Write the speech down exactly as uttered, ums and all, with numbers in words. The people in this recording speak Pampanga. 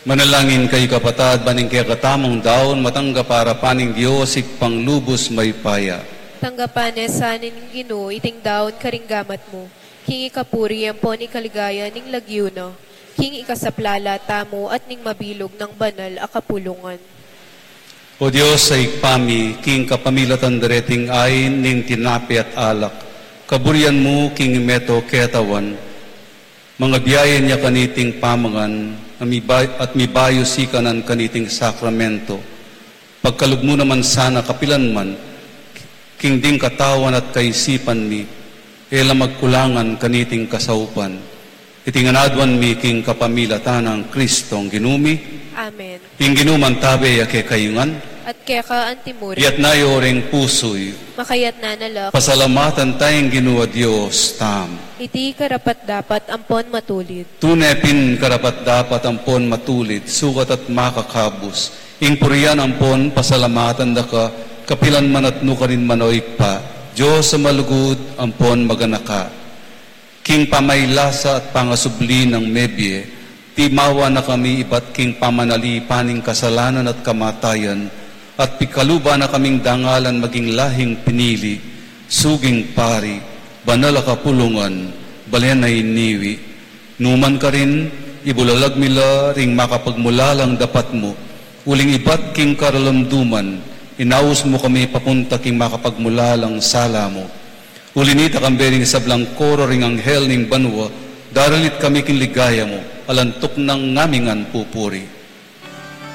Manalangin kayu, kapatad, ban ing kekatamung daun matanggap arapan ning Dios, Ibpang lubus mayupaya. Tanggapan na sa ning Ginu iting daun karing gamat mu, king ikapuri ampon ikaligaya ning lagyu na, king ikasaplala tamu at ning mabilug nang banal a kapulungan. O Dios, a Ibpa mi, king kapamilatan dareting ain ning tinape at alak, kaburian mu king meto ketawan, mangabiayan ya kaniting pamangan, a miba-, at mibayu sikanan kaniting sakramento. Pagkalub mu naman sana kapilan man, king ding katawan at kaisipan mi, e la magkulangan kaniting kasaupan. Iti ngan aduan mi king kapamilatan nang Kristong Ginu mi. Amen. Ing Ginu mantabe ya kekayu ngan. At keka antimurin. Iyatas yu ring pusu yu. Makayatas na la. Pasalamatan taya ing Ginu a Dios tamu. Iti karapat-dapat ampon matulid. Tune pin karapat-dapat ampon matulid, sukat at makakabus, ing purian ampon pasalamatan da ka, kapilan man at nukarin man, o Ibpa, Dios a malugud ampon maganaka. King pamailasa at pangasubli nang mebie, timawa na kami ibat king pamanalipan ning kasalanan at kamatayan, at pikaluban na kaming dangalan maging lahing pinili, suging pari, banal a kapulungan, balen a iniwi. Nukarin, ibulalag mi la ring makapagmulalang dapat mu, uling ibat king karalumduman, inaus mu kami papunta king makapagmulalang sala mu. Uli nita, kambe ring sablang koro ring anghel ning banua, daralit kami king ligaya mu, alang tuknang ngaming pupuri.